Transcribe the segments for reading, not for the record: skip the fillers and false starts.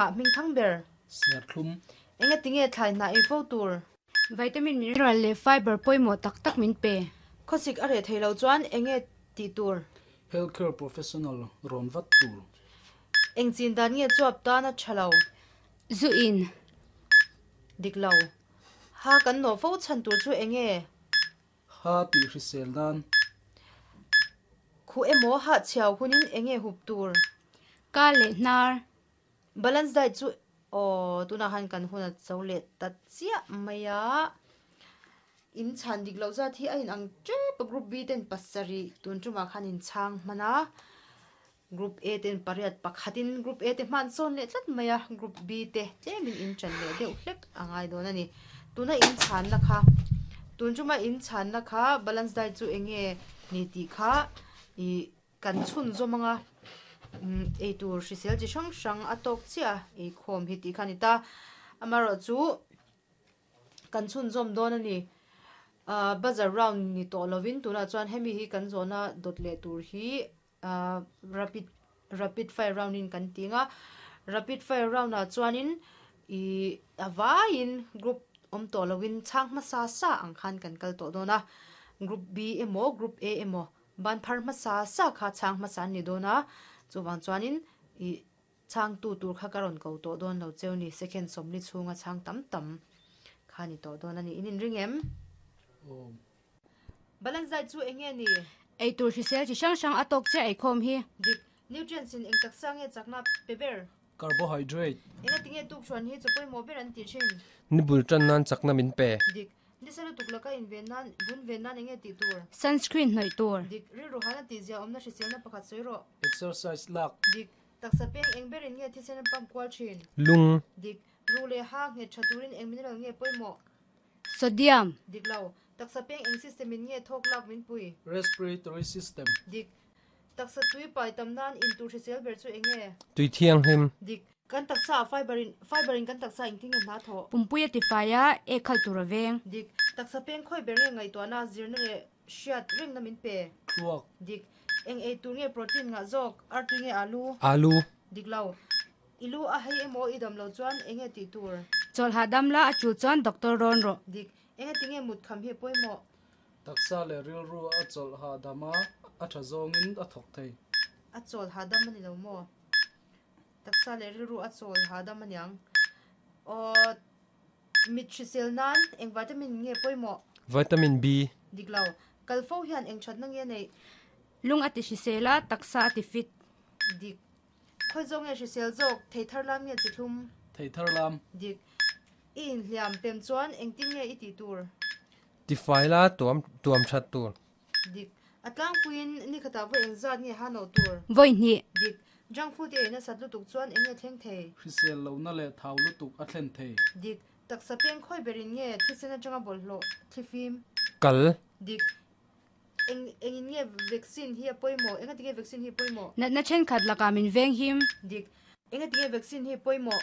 Ah hming thang ber. Serthlum. Engatinge thlai hnah ei fo tur? Vitamin, mineral leh fiber pawimawh tak tak min pe. Khawsik a reh thei lo chuan enge tih tur? Healthcare professional rawn vat tur. Eng chin dan nge chuap tan a tha lo? Zu in. Dik lo. Ha kan nawh fo chhan tur chu enge? Ha tih hrisel nan. Khuh emaw hah chhiau hunin enge hup tur? Ka leh hnar. Balance diet chu aw tunah khan kan hun a cho leh ta chiah mai a, in chhan dik loh zat hi a inang tep a, group B ten pasarih tun tumah khan in chhang hman a, group A ten pariat pakhatin group A te hman sawn leh tlat mai a, group B te tlemin in chan leh deuh hlek a ngai dawn a ni. Tuna in chhanna kha tun tuma in chhanna kha balance diet chu eng nge ni tih kha ih Kan chhunzawm anga eitur hrisel chi hrang hrang a tawk chiah a, eikhawm hi tih kha a ni ta. Amaherawhchu kan chhunzawm dawn a ni. Ahh buzzer round ni tawh lovin tunah chuan hemi hi kan zawhna dawt leh tur hi ahh rapid rapid fire round in kan ti ang a. Rapid fire round ah chuanin ih a vaiin group awm tawh lovin chhang hmasa sa ang khan kan kal tawh dawn a. Group B emaw group A emaw Ban phar hmasa sa kha chhang hmasa an ni dawn a, chuvang chuanin ih chhangtu tur kha ka rawn ko tawh dawn lo cheu ni, second sawmli chhunga chhang tam tam kha ni tawh dawn a ni. In inring em? Awm. Balance diet chu eng nge ni? Eitur hrisel chi hrang hrang a tawk chiah eikhawm hi. Dik. Nutrients in eng taksa nge chakna pe ber? Carbohydrate. Engati nge tukṭhuan hi chaw pawimawh ber an tih ṭhin? Ni bul ṭan nan chakna min pe. Dik. Nisa lutuk laka inven nan, vun ven nan enge tih tur? Sunscreen hnawih tur. Dik. Rilru hana tih zia awmna hriselna pakhat sawi rawh. Exercise lak. Dik. Taksa peng eng berin nge thisen a pump kual ṭhin? Lung. Dik. Ruh leh ha nghet ṭha turin eng mineral nge pawimawh? Sodium. Dik lo. Taksa peng eng system in nge thawk lak min pui? Respiratory system. Dik. Taksa tui pai tam nan in tur hrisel ber chu eng nge? Tui thianghlim. Dik. Kan taksa ah fiber in fiber in kan taksa engtin nge hna thawh? Pumpui a ti fai a, ek khalh tur a veng. Dik. Taksa peng khawi ber nge ngaihtuahna, zirna leh hriat rengna min pe? Thluak. Dik. Eng ei tur nge protein ngah zawk? Artui nge alu? Alu. Dik lo. I lu a hei emaw i dam lo chuan eng nge tih tur? Chawlh hahdam la a tul chuan doctor rawn rawh. Dik. Engati nge mut kham hi a pawimawh? Taksa leh rilru a chawlh hahdam a, a tha zawngin a thawk thei. A chawlh hahdam a ni lo maw? Taksa leh rilru a chawl hahdam a niang. Aw, mit hrisel nan eng vitamin nge pawimawh? Vitamin B. Dik lo. Kal fo hian eng thatna nge neih? Lung a ti hrisel a, taksa a ti fit. Dik. Khawi zawk nge hrisel zawk? Thei thar lam nge chi thlum? Thei thar lam. Dik. I inhliam pem chuan engtin nge i tih tur? Tifai la tuam tuam that tur. Dik. A tlangpuiin nikhatah vawi engzat nge ha nawh tur? Vawi hnih. Dik. Junk food i ei nasat lutuk chuan eng nge thleng thei? Hrisel lohna leh thau lutuk a thlen thei. Dik. Taksa peng khawi berin nge thisen atanga bawlhhlawh thlifim? Kal. Dik. Eng engin nge vaccine hi a pawimawh? Engati nge vaccine hi pawimawh? Natna thenkhat lakah min veng him. Dik. Engati nge vaccine hi pawimawh?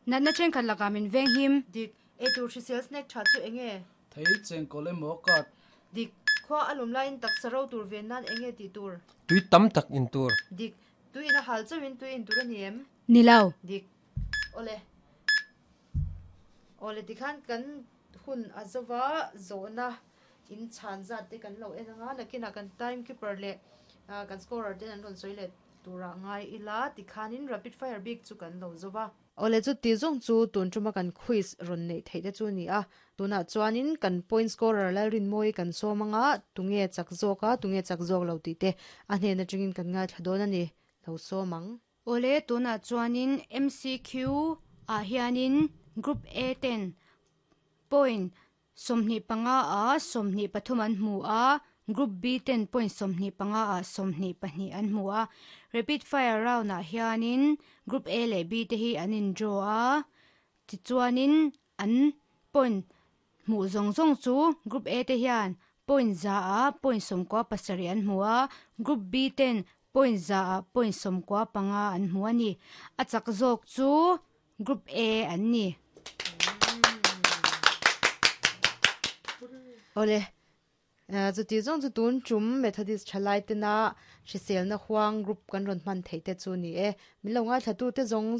Natna thenkhat lakah min veng him. Dik. Eitur hrisel snack tha chu enge? Thei chengkawl emaw card. Dik. Khua a lum laiin taksa ro tur ven nan enge tih tur? Tui tam tak in tur. Dik. Tui in a hal chauhin tui in tur a ni em? Ni lo. Dik. Awle. Awle tikhan kan hun a zova zawhna in chhan zat te kan lo en anga nakinah kan time keeper leh kan scorer ten an rawn sawi leh turah ngai ila tikhanin rapid fire bik chu kan lo zova. Awle chu ti zawng chu tun tuma kan quiz rawn neih theih te chu a ni a, tunah chuanin kan point scorer Lalrinmawii kan sawm anga tunge chak zawk a tunge chak zawk lo tih te a hnen atangin kan ngaithla dawn a ni, lo sawm ang. Awle tunah chuanin MCQ ah hianin Group A ten point 25 ah 23 an hmu a, Group B ten point 25 ah 22 an hmu a. Rapid fire round ah hianin Group A leh B te hi an in draw a, tichuanin an point hmuh zawng zawng chu Group A te hian point za ah point 17 an hmu a, Group B ten point za ah point 15 an hmu a ni. A chak zawk chu Group A an ni. Awle. Chuti zawng chu tun tum Methodist thalai tena hriselna huang group kan rawn hman theih te chu ni e. Min lo ngaithla tu te zawng.